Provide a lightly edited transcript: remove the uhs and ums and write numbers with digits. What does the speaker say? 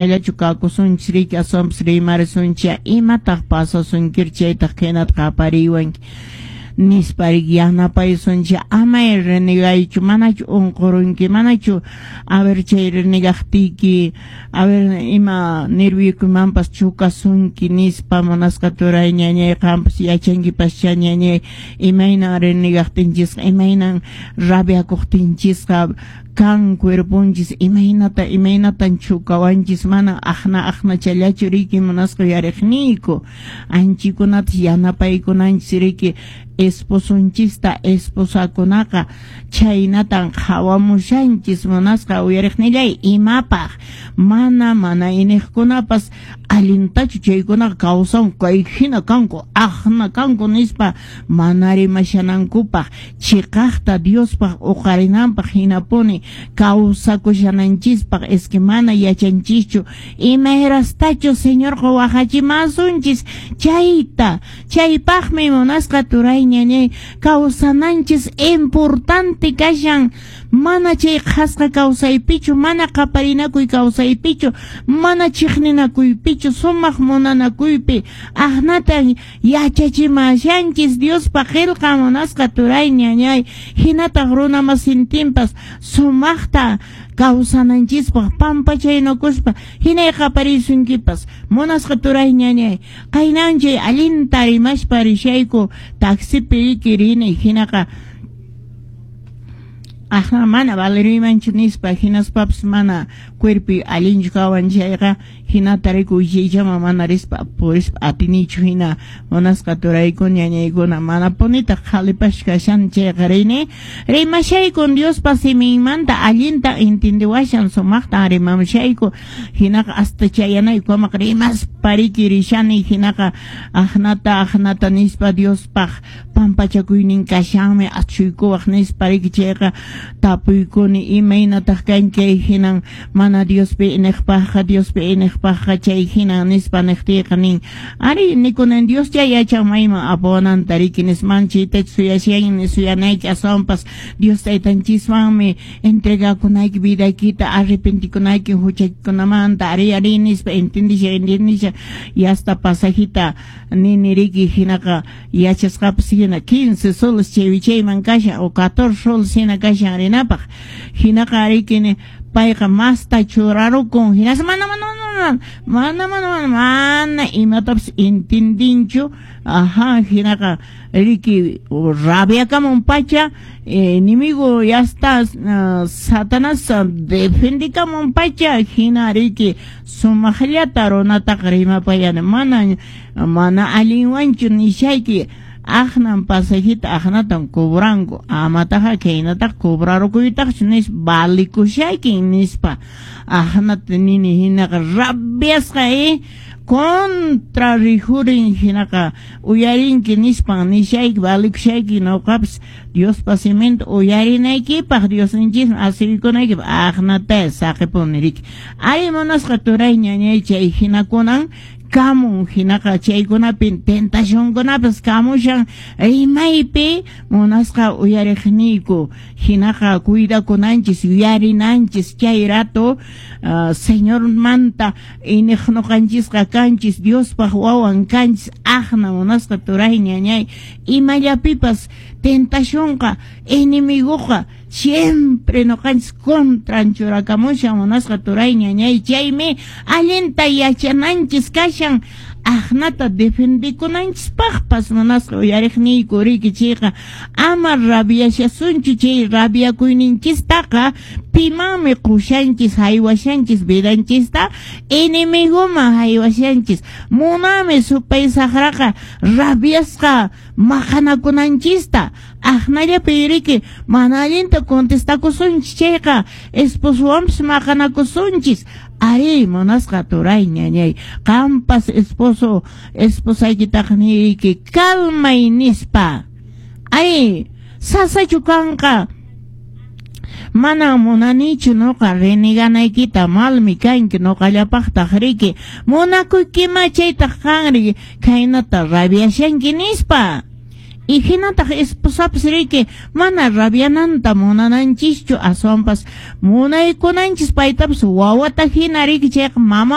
Llachu kakusunchis riki, aswanpas rimarisunchis, imataq pasasunkiri chaytaq khaynata qapariwanki nispa riki yanapaysunchis. Amay renegaychu, manachu unqurunki, manachu a ver chay renegaqtiyki a ver ima nervioykimanpas chukasunki nispa. Munasqa turay ñañay, qanpas yachankipaschá ñañay imaynan renegaqtinchisqa, imaynan rabiakuqtinchisqa kan cuerponchis, imaynata imaynatan chukawanchis, mana aqna aqnachallachu riki. Munasqa uyariqniyku, anchikunatas yanapaykunanchis riki esposonchista, esposakunaqa chhaynatan qhawamushanchis. Munasqa uyariqnillay, imapaq mana mana iniqkunapas allintachu chaykunaqa kawsan, kay hina kanku, aqna kanku nispa mana rimashanankupaq, chiqaqta Diospaq uqarinanpaq hinapuni kawsakushananchispaq. Es que mana yachanchischu imayrastachus Señorqa wajachimasunchis chayta. Chaypaqmi, munasqa turay ñañay, kawsananchis importante kashan, mana chay qhasqa kawsaypichu, mana qaparinakuy kawsaypichu, mana chiqninakuypichu, sumaq munanakuypi. Aqnata yachachimashanchis Diospa qillqa, munasqa turay ñañay, hinataq runa masintinpas sumaqta kawsananchispaq, pampachaynakuspa. Hinay qaparisunkipas, munasqa turay ñañay. Qaynanchay allinta rimaspa rishayku taxipi riki rini, hinaqa ajna mana valeriymanchu nispa, hinaspapas mana cuerpi allinchu kawan chayqa, hinata riku wichaychama mana rispa purispa atinichu. Hina, munasqa turaykuna ñañaykuna, mana punitaq qhalipash kashan chayqa, rini rimashaykun Diospa siminmanta, allinta entendiwashan, sumaqtan rimamushayku. Hinaqa hasta chayanaykukamaq rimaspa riki rishani. Hinaqa aqnata aqnata nispa, Diospaq pampachakuynin kashanmi, achuykuwaq nispa riki. Chayqa tapuykuni, imaynataq kanki kay hinan mana Diospi iniqpaqqa, Diospi iniqpaqqa chay hinan nispa niqtiyqa nin, ari nikunan, Dios chay yachan mayman apawananta riki nisman, chaytachu suyashan suyanayki, aswanpas Dios taytanchiswanmi entregakunayki vidaykita, arrepentikunayki huchaykikunamanta. Ari, ari nispa entendisha, entendisha, y hasta pasajita nini riki. Hinaqa yachasqapas hina 15 soles chay wichayman kashan o 14 soles hina kashan rinapaq. Hinaqa riki payqa masta churarukun, hinaspa mana mana mana mana mana mana mana imatapas entendinchu. Ajá, hinaqa riki rabiakamun pacha, enemigo ya está, Satanás defendikamun pacha. Hina riki sumaqllata runataqa rimapayani, mana mana allinwanchu nishayki, aqnan pasajita aqnatan cobranku, amataqa khaynataqa cobrarukuytaqchu nispa, valikushaykin nispa aqnata nini. Hinaqa rabiasqa contra rijurin. Hinaqa uyarinki nispan nishayki, valikushayki noqapas Diospa siminta uyarinaykipaq, Diosninchisman asuykunaykipaq, aqnata saqipuni riki. Ay, munasqa turay ñañay, chay hinakunan kamun. Hinaqa chaykunapin tentacionkunapas kamushan rimaypi, munasqa uyariqniyku. Hinaqa cuidakunanchis, yuyarinanchis chay rato Señormanta iniq noqanchisqa kanchis, Diospaq wawan kanchis. Aqna, munasqa turay ñañay, imallapipas tentacionqa, enemigoqa siempre noqanchis contran churakamushan, munasqa turay ñañay. Chaymi allinta yachananchis kashan aqnata defendikunanchispaqpas, munasqa uyariqniyku riki. Chayqa ama rabiashasunchu. Chay rabiakuyninchistaqa pimanmi qushanchis, haywashanchis vidanchista? Enemigoman haywashanchis. Munami supay saqraqa rabiasqa maqanakunanchista. Aqnallapi riki mana allinta contestakusunchis chayqa, esposowanpis maqanakusunchis. Ari, munasqa turay ñañay, qampas esposo esposaykitaqa niyki calmay nispa. Ay, sasachu kanqa? Mana munanichu noqa reneganaykita, malmi kanki noqallapaqtaq riki, munakuykima, chaytaq qanri khaynata rabiashanki nispa. Y hinataq esposapas riki mana rabiananta munananchischu, aswanpas munaykunanchis paytapas wawata hina riki, chayqa mama.